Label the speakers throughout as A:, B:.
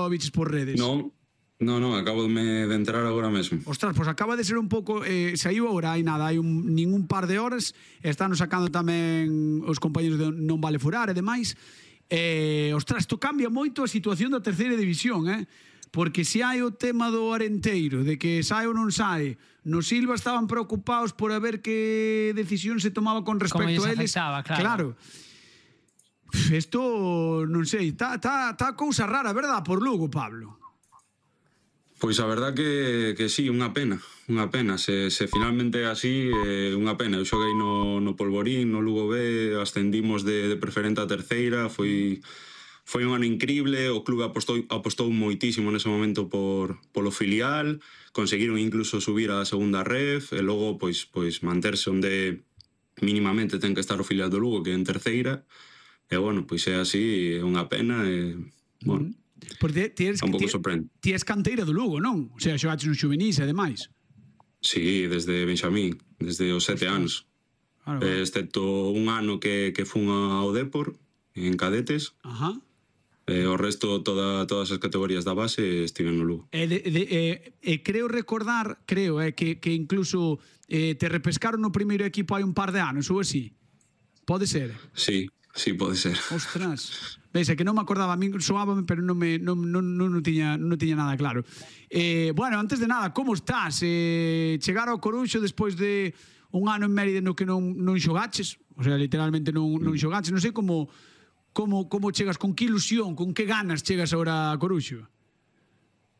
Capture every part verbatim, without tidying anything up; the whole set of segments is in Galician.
A: o viches por redes?
B: Non, non, non, acabo de, de entrar agora mesmo.
A: Ostras, pois acaba de ser un pouco eh, saiu agora, hai nada, hai un, nin un par de horas, están sacando tamén os compañeros de Non Vale Furar e demais. Eh, ostras, isto cambia moito a situación da terceira división, eh? Porque se hai o tema do Arenteiro, de que sai ou non sai, no Silva estaban preocupados por a ver que decisión se tomaba con respecto a eles.
C: Afectaba, claro.
A: Claro. Isto, non sei, está tá, tá cousa rara, verdad, por Lugo, Pablo?
B: Pois a verdad que, que sí, unha pena, unha pena. Se, se finalmente é así, é unha pena. Eu xoguei no, no Polvorín, no Lugo B, ascendimos de, de preferente a terceira, foi... Foi un ano increíble, o clube apostou, apostou moitísimo nese momento por, polo filial, conseguiron incluso subir á segunda ref, e logo pois, pois manterse onde mínimamente ten que estar o filial do Lugo, que é en terceira, e bueno, pois é así, é unha pena, e bueno,
A: Porque ti eres,
B: un pouco
A: ti,
B: sorprende.
A: ti es canteira do Lugo, non? O sea, xogaches nos juvenis e demais.
B: Sí, desde Benxamín, desde os sete anos,
A: Claro,
B: eh, excepto un ano que, que fun ao Depor, en cadetes.
A: Ajá.
B: Eh, o resto, toda, todas as categorías da base estiven no Lugo.
A: E, de, de, eh, eh, creo recordar, creo, eh, que, que incluso eh, te repescaron no primeiro equipo hai un par de anos, ou así. Pode ser?
B: Sí, sí, pode ser.
A: Ostras. Veis, é que non me acordaba, a mí soábame, pero non me non, non, non, non, tiña, non tiña nada claro. Eh, bueno, antes de nada, como estás? Eh, chegar ao Coruxo despois de un ano en Mérida no que non, non xogaches, o sea, literalmente non, non xogaches, non sei como... Como, como chegas, con que ilusión, con que ganas chegas agora a Coruxo?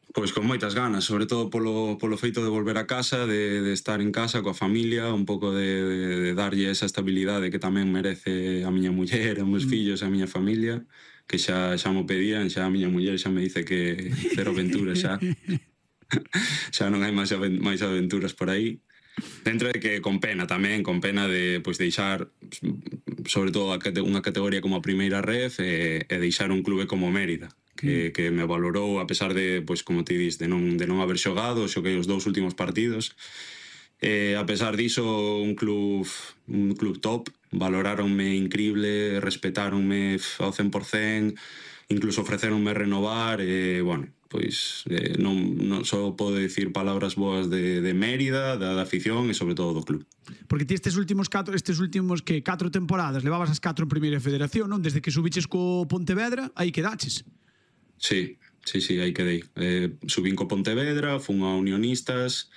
B: Pois con moitas ganas, sobre todo polo, polo feito de volver a casa, de, de estar en casa coa familia, un pouco de, de, de darlle esa estabilidade que tamén merece a miña muller, os meus fillos e a miña familia, que xa, xa mo pedían, xa a miña muller xa me dice que cero aventuras xa. Xa non hai máis, máis aventuras por aí. Dentro de que con pena tamén, con pena de pois deixar sobre todo a, unha categoría como a primeira ref e, e deixar un clube como Mérida, que, que me valorou a pesar de, pois como ti dis, de non, de non haber xogado, xoguei os dous últimos partidos. E a pesar diso, un club un club top, valoráronme increíble, respetáronme ao cen por cen, incluso ofreceronme renovar e, bueno, pois eh, non, non só podo dicir palabras boas de, de Mérida, da, da afición e sobre todo do club.
A: Porque ti estes últimos catro, estes últimos que catro temporadas levabas as catro en primeira federación, non? Desde que subiches co Pontevedra, aí quedaches.
B: Sí, sí, sí, aí quedei. Eh, subín co Pontevedra, fun a Unionistas,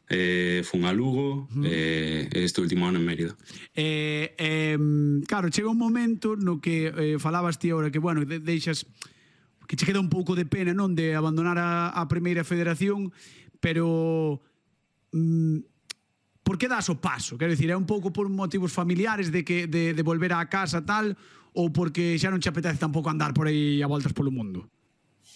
B: eh, fun a Lugo, uh-huh. eh, este último ano en Mérida.
A: Eh, eh, claro, chega un momento no que eh, falabas ti ahora que, bueno, de, deixas... que che queda un pouco de pena, non, de abandonar a, a primeira federación, pero mm, por que das o paso? Quero dicir, é un pouco por motivos familiares de que de, de volver á casa tal, ou porque xa non che apetece tampouco andar por aí a voltas polo mundo?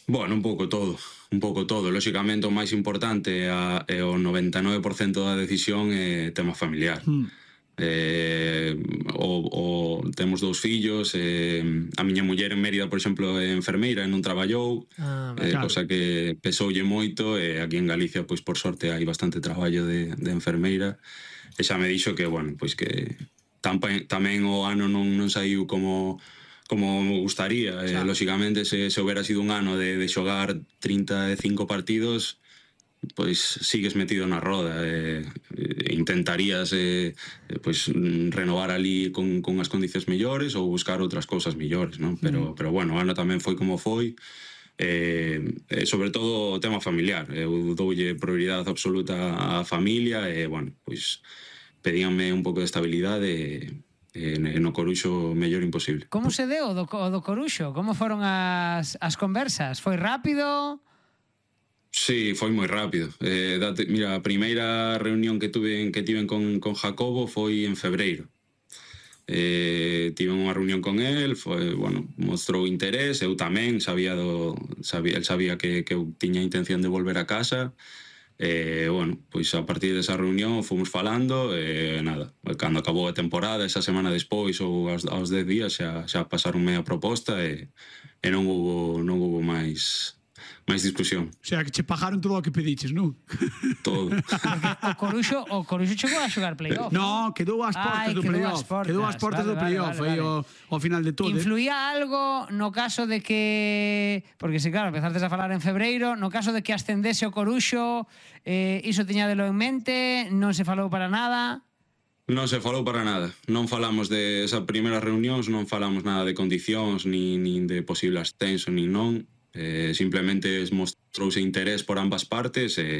B: Bueno, un pouco todo, un pouco todo. Lóxicamente o máis importante é o noventa e nove por cento da decisión é tema familiar. Hmm. Eh, o, o temos dous fillos, eh, a miña muller en Mérida, por exemplo, é enfermeira e non traballou, ah, eh, claro. Cosa que pesoulle moito, e aquí en Galicia, pois por sorte hai bastante traballo de, de enfermeira, e xa me dixo que, bueno, pois que tamén, tamén o ano non, non saiu como como me gustaría, claro. eh, lóxicamente se, se houbera sido un ano de, de xogar trinta e cinco partidos, pois sigues metido na roda, e, e intentarías eh, pois renovar ali con, con as condicións mellores ou buscar outras cousas mellores, non? Pero, mm. pero bueno, o ano tamén foi como foi, e, e sobre todo o tema familiar. Eu doulle prioridade absoluta á familia e, bueno, pois pedíanme un pouco de estabilidade e no Coruxo mellor imposible.
C: Como se deu o do, o do Coruxo? Como foron as, as conversas? Foi rápido?
B: Sí, foi moi rápido. Eh, date, mira, a primeira reunión que tuve que tiven con, con Jacobo foi en febreiro. Eh, tive unha reunión con él, foi, bueno, mostrou interés, eu tamén sabía do, sabía, el sabía que, que eu tiña intención de volver a casa. E, eh, bueno, pois a partir desa reunión fomos falando e nada, cando acabou a temporada, esa semana despois ou aos, aos dez días xa, xa pasaronme a proposta e, e non hubo non hubo máis máis discusión.
A: O sea, que che pagaron todo o que pediches, non?
B: Todo.
C: O Coruxo, o Coruxo chegou a xogar playoff.
A: No, quedou ás portas
C: Ai,
A: do
C: quedou
A: playoff.
C: ás portas.
A: Quedou ás portas
C: Vale,
A: do
C: vale,
A: playoff,
C: vale,
A: aí
C: vale.
A: ao, ao final de todo. eh.
C: Influía algo no caso de que... Porque, se claro, empezartes a falar en febreiro, no caso de que ascendese o Coruxo, eh, iso tiñadelo en mente, non se falou para nada...
B: Non se falou para nada. Non falamos de esa primeira reunións, non falamos nada de condicións, nin, nin de posible ascenso, nin non. Eh, simplemente mostrouse interés por ambas partes e